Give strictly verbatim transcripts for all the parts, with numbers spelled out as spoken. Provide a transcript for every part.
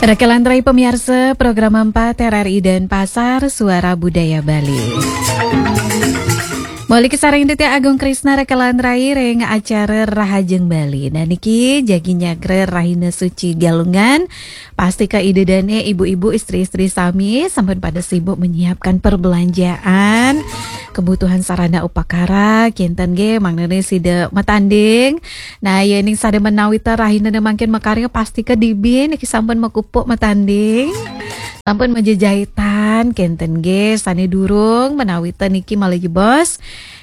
Rekelan rai pemiarsa program empat R R I Denpasar, Suara Budaya Bali. Moli kasareng titiang Agung Krisna rekelan rai ring acara Rahajeng Bali. Nah niki jagi nyagra Rahina Suci Galungan. Pastika Ida dane ibu-ibu istri-istri sami sampun pada sibuk menyiapkan perbelanjaan kebutuhan sarana upakara, kinten nggih, mangdane sida matanding. Nah, yening sada menawita rahina mangkin makarya, pastika dibi niki sampun makupuk matanding. Sampun majejaitan, kinten nggih, sane durung menawita niki malih jebos.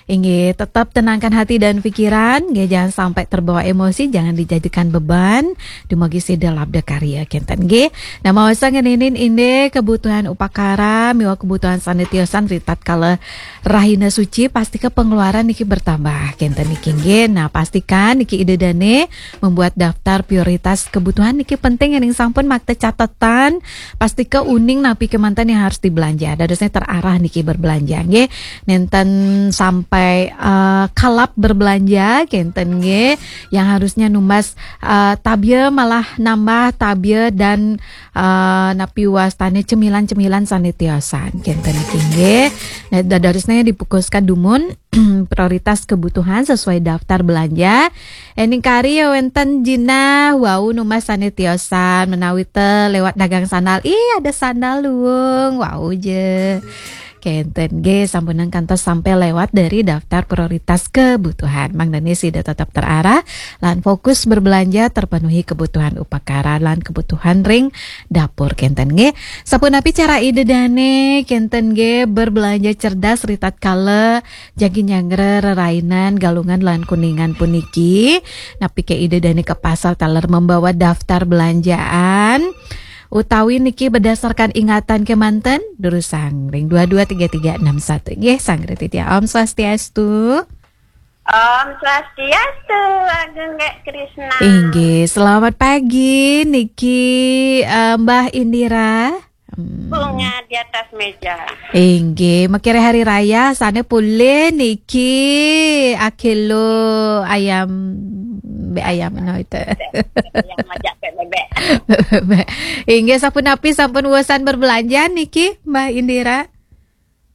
Inggih, tetap tenangkan hati dan pikiran, nggih, jangan sampai terbawa emosi, jangan dijadikan beban. Dumugi sida labda karya, kinten nggih. Nah, maosa ngeninin indik kebutuhan upakara miwah kebutuhan sane tiosan ri tatkala Rahina Suci, pastika pengeluaran niki bertambah, kinten niki nggih. Nah, pastikan niki Ida dane membuat daftar prioritas kebutuhan niki penting, yening sampun makta catetan, pastika uning napi kemanten yang harus dibelanja. Dadosnya terarah niki berbelanja nggih. Nenten sampai eh, kalap berbelanja, kinten nggih. Yang harusnya numbas eh, tabia malah nambah tabia dan eh, napi wastane cemilan-cemilan sane tiosan, kinten niki nggih. Nah, dadosnya dipukuskan dumun prioritas kebutuhan sesuai daftar belanja. Ening kari ya wenten jinah wau numbas sane tiosan, menawita lewat dagang sandal. Ih, ada sandal luung, wau je. Kenten nggih, sampunang kantos sampai lewat dari daftar prioritas kebutuhan. Mangdane sida tetap terarah lan fokus berbelanja terpenuhi kebutuhan upakara lan kebutuhan ring dapur, kenten nggih. Sapunapi cara Ida dane, kenten nggih, berbelanja cerdas ri tatkala jagi nyagra rerainan Galungan lan Kuningan puniki? Napi ke Ida dane ke pasar taler membawa daftar belanjaan? Utawi niki berdasarkan ingatan kemanten? Durusang ring dua dua tiga tiga enam satu. Nggih, sanggra titiang. Om Swastiastu. Om Swastiastu, Ageng Gek Krisna. Inggih, selamat pagi niki eh, Mbah Indira. Hmm. Bunga di atas meja. Inggih, makire hari raya sane pulih niki akilo ayam, be ayam no itu. Yang majak bebek. Inggih, sapunapi sampun uesan berbelanja niki, Mbah Indira?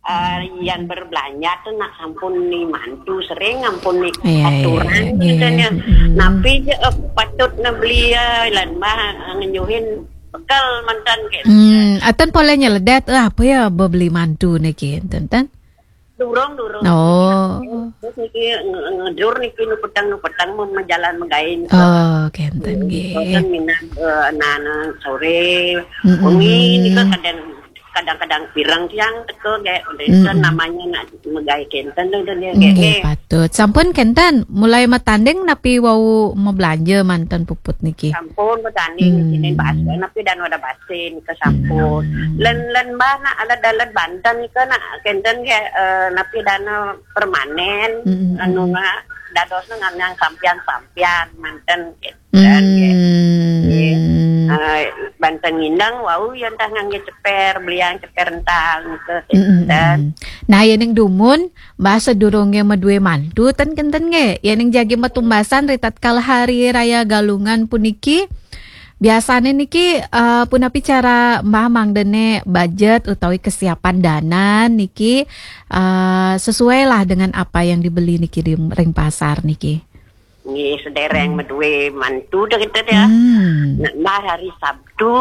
Eh, yang berbelanja tuh nak sampun ni mantu sering, ampun ni Iya, iya, aturan iya, gitu iya. Nya. Mm-mm. Napi je eh, patut na beli eh, lan mah eh, ngenyuhin bekal mantan ke. Hmm, atan polanya ledat eh, apa ya beli mantu niki, enten? Durung, durung. Oh. Terus niki nge- ngedur niki nu petang, nu petang mau jalan megain. Oh, kenten nggih. Kan minat eh, anak-anak sore, Mm-mm. Wengi nika kadang kadang-kadang pirang tiang teka gek. Itu Mm-mm. Namanya nak megai kenten tu dia gek. Nggih, patut. Sampun kenten mulai matanding napi wau mebelanja manten puput niki? Sampun matanding Hmm. Sini bahasa napi dan wadah basin ke sampun. Hmm. Len len bah nak alat dalat Banten ke nak kenten ke eh, napi dana permanen. Hmm. Anu nak dados nang sampian-sampian manten gitu. Dan, ya. Hmm. Eh, Banten ngindang wau ya entah ngangge ceper, beliang ceper ental gitu. Hmm. Dan Nah, ya ning dumun, bahasa durunge medue mantu ten kenten nge. Ya ning jagi metumbasan ri tatkala hari raya Galungan puniki. Biasane niki eh, punapi cara Mbah mangdene budget utawi kesiapan dana niki eh, sesuai lah dengan apa yang dibeli niki di ring pasar niki. Nggih, sedereng medue mantu dah kita dia. Hmm. Nak Mbah hari Sabtu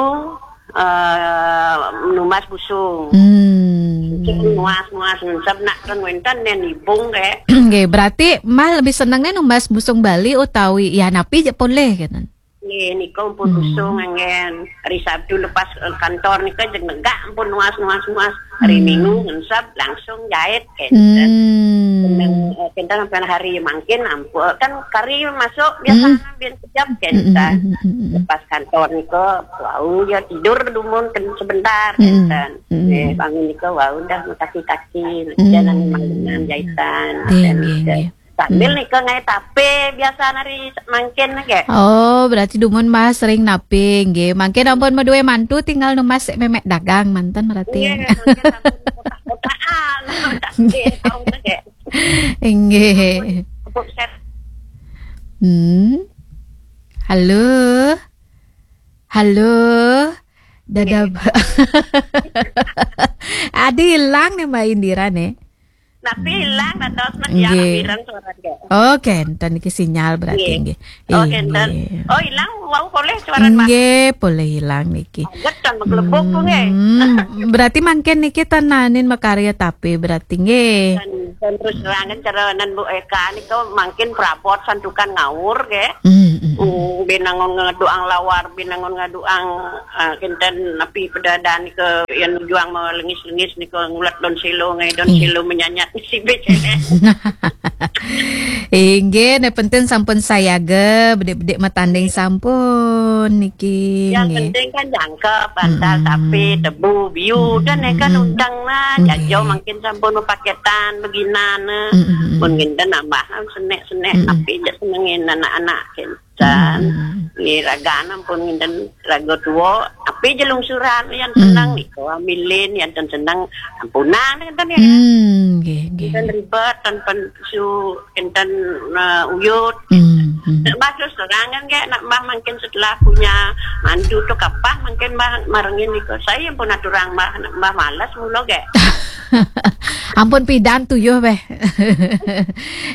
eh numbas busung. Hmm. Numbas numbas ngensep nak kan wenten nen ibung ke. Nggih, berarti Mbah lebih seneng nih numbas busung Bali utawi ya napi je poleh gitu. Nggih, nika ampun Hmm. Busung anggen. Hari Sabtu lepas eh, kantor nika jeg negak ampun nuas nuas nuas. Hari Hmm. Minggu ngensep langsung jahit kenten. Hmm. Kenten eh, kenten sampai hari mangkin ampun kan kari masuk biasa Hmm. Bin kejap kenten. Hmm, hmm, hmm, hmm, hmm. Lepas kantor nika wau ya tidur dumun ken sebentar Hmm. Kenten. Hmm. Eh, bangun nika wau dah kaki-kaki Hmm. Jalan memang dengan jahitan. Nggih, Dan nggih, nika nggih. Sambil Hmm. Nika ngai tape biasa nari mangkin nggih. Oh, berarti dumun Mbah sering nape nggih. Mangkin ampun medue mantu tinggal numbas sik memek dagang manten berarti. Nggih, mangkin sampun kotak-kotakan. Nggih, tahu nggih. Nggih. Ampun set. Hmm. Halo. Halo. Dadab. Adi ilang nih Mbak Indira nih. Tapi ilang, nah, terus mas ya, nggih, pirang suara dia. Oke, enten iki sinyal berarti, nggih, nggih. Oh, enten. Nggih. Oh, ilang, wau boleh suara, Mbak? Nggih, boleh ilang niki. Aget kan, menggelebok tuh, nggih. Hmm, berarti mangkin niki tenanin makarya tapi berarti, nggih. Dan, dan terus terangan cara nan Bu Eka niku mangkin prabot santukan ngawur, nggih. Hmm, hmm, hmm. Hmm, binangun ngeduang lawar, binangun ngeduang, eh, kinten napi pedadan ke yang nujuang melengis-lengis niku ngulet don silo, ngai don, iya, silo menyanyat si becene. Inggih, ne penting sampun sayaga, bedik-bedik matanding sampun niki, yang nggih, penting kan jangkep, bantal, mm-mm, tapi tebu, biu, dan kan, mm-mm, undang lah, nggih, jajo mangkin sampun paketan, beginan, eh. Mm-mm. Pun nginten nambah, senek-senek, mm-mm, tapi jak senengin anak-anak, kin. Dan, mm-mm, nggih, raga ampun nginten raga tua, tapi jelungsuran yang senang, mm, niku ambilin, yang ten senang ampunan, enten ya. Hmm, nggih, nggih. Enten ribet, tan pen su, enten, eh, uyut. Hmm, hmm. Mbah terus terang kan, nggih, nak Mbah mungkin setelah punya mantu tuh kapan mungkin Mbah marengin niku. Saya pun aturang Mbah, nak Mbah malas mula, nggih. Ampun pidan tuyuh beh.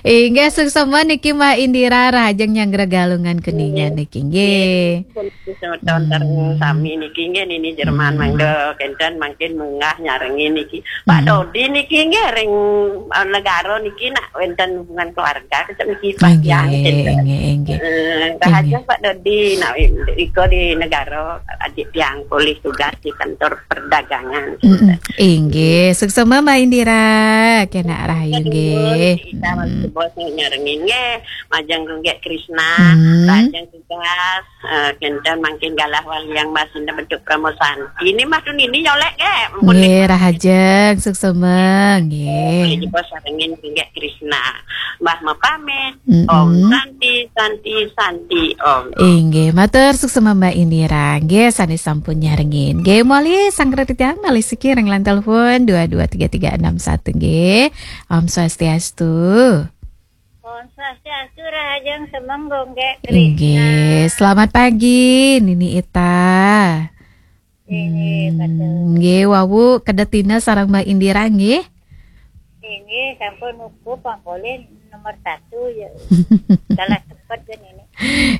Inggih, suksema niki Mbak Indira, rahajeng nyanggra Galungan Kuningan niki, nggih. Pun semeton sareng, hmm, sami niki, nggih, nini Jerman, hmm, mangda kenten mangkin munggah nyarengin niki. Pak, hmm, Dodi niki, nggih, ring, eh, negara niki nak wenten hubungan keluarga, kecek niki Pak, nggih, Yang, kenten. Inggih, inggih. Eh, rahajeng, inggih, Pak Dodi, nak iko di negara, adik tiang polih tugas di kantor perdagangan. Mm-mm. Inggih, suksema Mbak Indira, kena rahayu, aduh, nggih. Kita, mm-mm, masih bos nyarengin, nggih. Majeng Gunggek Krisna, hmm, Rajeng Tugas, eh, kenten mangkin galah wali yang masih bentuk promosan. Ini mah tuh nini nyolek, nggih. Ampun, nggih, nggih. Rahajeng, suksema, nggih. Jadi bos sarengin Gunggek Krisna. Mbah mapamit. Mm-mm. Om Santi, Santi, Santi, Om. Inggih, matur suksema Mbak Indira. Nggih, sané sampun nyarengin. Nggih, moli sanggra titiang malih siki ring line telepon dua dua tiga tiga enam satu, nggih. Om Swastiastu. Om Swastiastu, rahajeng semeng Gunggek Krisna. Inggih, selamat pagi, Nini Ita. Inggih, hmm, betul. Nggih, wau kedatina sareng Mbak Indira, nggih. Inggih, sampun uku pangkolin nomor satu ya. Salah cepet kan ini.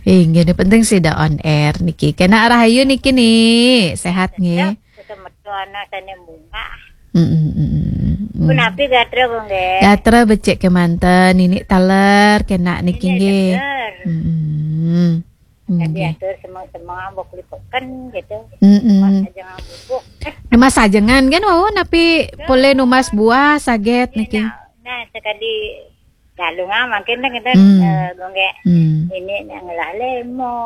Inggih, ini penting sida on air niki. Kena rahayu niki nih, sehat nggih. Tetep, tetep metu ana sané bunga. Mm, mm, mm, mm. Punapi gatra, Bu, nggih? Gatra becik kemanten, ini taler kena niki, ini nggih. Taler. Mm, mm. Tadi, nggih, atur semang-semang bok lipeken gitu. Mm-mm. Numas ajengan bubuk. Numas ajengan kan, wau napi, betul, polih numas buah saget, iya, niki. Nah, nah, sekali Galungan mungkin deh kita, hmm, eh, Gunggek. Hmm. Ini yang ngelah lemo,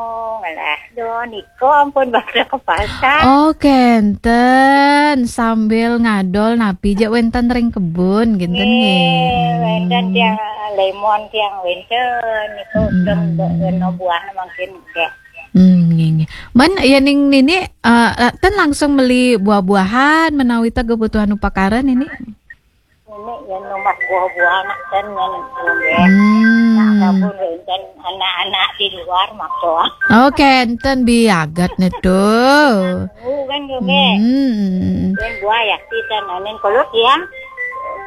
ngelah don, iko ampun bakal ke pasar. Oh, kenten, sambil ngadol napi jak wenten ring kebun, kenten, nggih, nggih. Wenten, hmm, tiang lemon, tiang wenten, iko, hmm, dong, dong, no buah mungkin, nggih. Hmm, nggih, nggih. Man, ya ning nini, eh, ten langsung meli buah-buahan, menawi ta kebutuhan upakara nini? Ini yang numas buah-buahan, nak ten yang, nggih. Hmm. Nak sabun, wenten anak-anak di luar, makso. Oh, kenten biagat ne tuh. Bukan, nggih. Hmm. Yang buah ya, kita nanin kalau tiang,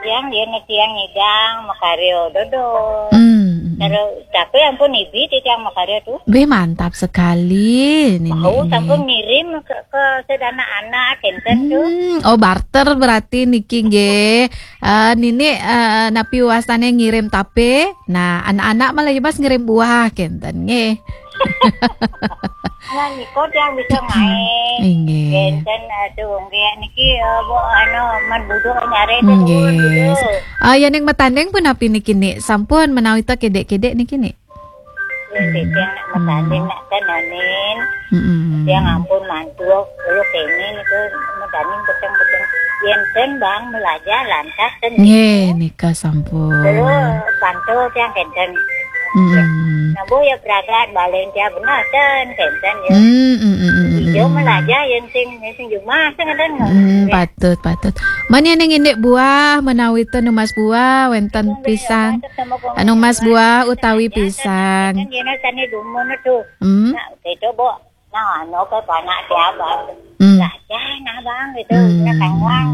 tiang, dia ne tiang ngidang, makaryo, dodol. Hmm. Kalau tapi ampun ibi di tiang makarya tuh. Beh, mantap sekali, Nini. Mau sampun ngirim ke, ke sedana anak, kenten tuh. Hmm, oh, barter berarti niki nggih. Eh, Nini, eh, napi wastane ngirim tape. Nah, anak-anak malah ya Mas ngirim buah, kenten nggih. Nah, niko yang bisa main. Inggih. Kenten, aduh, nggih niki, eh, Bu, anu, man buduk nyare tuh, nggih, buduk. Ah, ya ning matanding pun napi niki, Ni? Sampun menawi ta kedek-kedek niki, Ni? Ya, hmm, tiang nak matanding, hmm, nak tenanin. Mm-mm. Tiang ampun mantu, kalau kene niku matanding peteng-peteng. Yen ten bang melajar lantas ten. Nggih, nika sampun. Kalau pantau tiang kenten. Mm-mm. Nah, Bu, ya pragat balen tiang benar ten kenten ya. Mm, mm, mm, mm, mm. Ijo melajar yen sing, sing jumah sing ada. Mm, patut, patut. Man ya ning indik buah menawi ten numas buah wenten pisang. Anu mas buah utawi pisang. Kan dia nak tanya dumun tu. Hmm? Nak, itu, Bu. Nah, anu ke panak siapa? Hmm. Lah, ya, nah, Bang, gitu. Hmm. Nah, Kang Wang.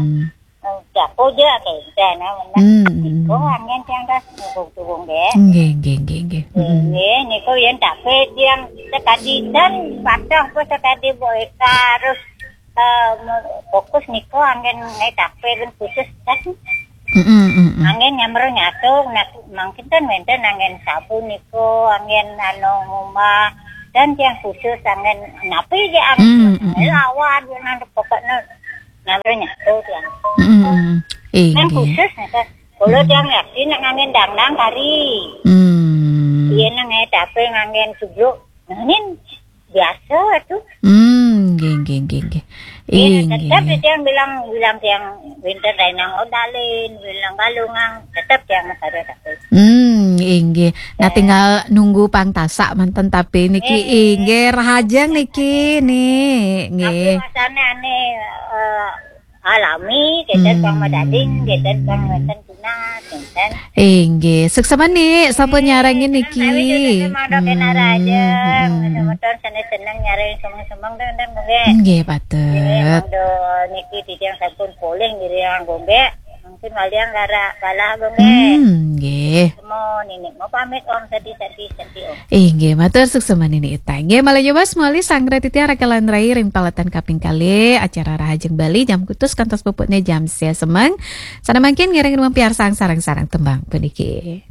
Oh, jago aja, kayak gitu, nah, mana. Hmm. Niko anggen tiang das, niko turun deh. Nggih, nggih, nggih, nggih. Hmm. Nggih, niko yen tape tiang sekadi dan patuh apa sekadi Bu Eka, terus, eh, fokus niko anggen ngai tape kan khusus kan. Mm-mm, mm-mm. Anggen nyamber nyatu, nah, mangkin kan wenten anggen sabu niko, anggen anu ngumah, dan tiang khusus anggen napi aja anggen. Mm-mm. Lawan, nang pokoknya nyamber nyatu tiang. Mm-mm. Nang khusus, niko. Kalau tiang yakin nak anggen dangdang kari. Hmm. Iya, nang ngai tape anggen subluk. Nah, ini biasa tuh. Hmm, nggih, nggih, nggih, nggih. Iya, tetap tiang bilang, bilang tiang winter dainang odalin, bilang galungang, tetap tiang masada tape. Hmm, inggih. Nah, tinggal nunggu pang tasak manten tape niki. Nggih. Inggih, rahajeng niki, Ni. Nggih. Tapi rasanya ane, eh, alami, kita pang madading, kita pang wenten tunas, wenten. Inggih, suksma Ni, sampun nyarengin niki. Kami juga sama ada kenara aja. Hmm, hmm, hmm. Motor seneng-seneng nyareng semeng-semeng, dan, dan, nggih. Nggih, patut. Nggih, monggo niki titiang sampun polih ngiring, nggih. Mungkin waliang gara balah, nggih. Hmm, nggih. Semua nini mau pamit, Om, sedih, sedih, sedih, Om. Inggih, matur suksma Nini Ita. Inggih, malih nyoba semua li sanggra titiang rakalan rai ring paletan kaping kalih acara Rahajeng Bali jam kutus kantos puputnya jam sia semeng. Sana mangkin ngiring rumah piarsang sarang-sarang tembang puniki.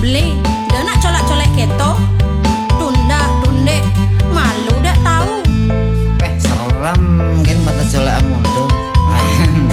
Beli, dia nak colak-colak keto, tunda, tunde, malu dak tahu. Eh, serem mungkin mata colak amun.